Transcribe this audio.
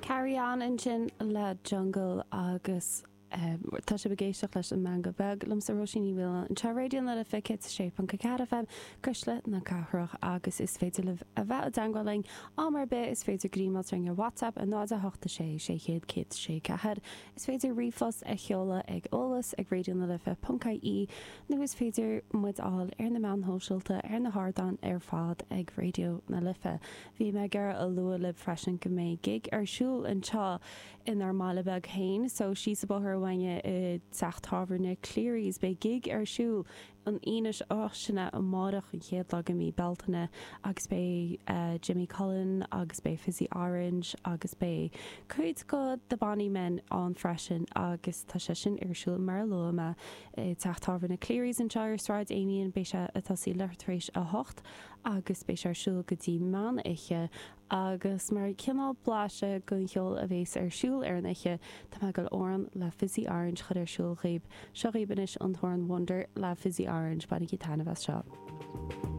Carry On ansin le Jungle agus tá sibh ag éisteacht leis an Meangadh Beag liomsa Róisín Ní Mhaoláin anseo ar Raidió na Life 106.4 FM, Cuisle na Cathrach agus is féidir libh a bheith i dteangmháil linn am ar bith, is féidir gríomáil linn ar WhatsApp 0 8 6 600 106 4, is féidir ríomhphost a sheoladh ag eolas ag raidionalife.ie nó is féidir muid a fháil ar na meáin shóisialta ar na hardáin ar fad ag Raidió na Life. Bhí mé ag iarraidh a lua libh freisin go mbeidh gig ar siúl anseo inár mbaile beag féin, so síos an bóthar uainne i dteach tábhairne Cleary's. Beidh gig ar siúl an Aoine seo, sin é amárach, an chéad lá de mhí Bealtaine, agus beidh Jimmy Cullen agus beidh Fizzy Orange agus beidh cuid de The Bonny Men ann freisin agus tá sé sin ar siúl mar a luaigh mé i dteach tábhairne Cleary's anseo ar Sráid Amiens. Beidh sé ag tosaí leathuair tar éis a hocht. agus beidh sé ar siúl go dtí meán oíche agus mar chineál blaiseadh den cheol a bhéas ar siúl ar an oíche, tá mé ag dul amhrán le Fizzy Orange a chur ar siúl dhaoib. Seo dhaoib anois an t-amhrán Wonder le Fizzy Orange, bainigí taitneamh as seo.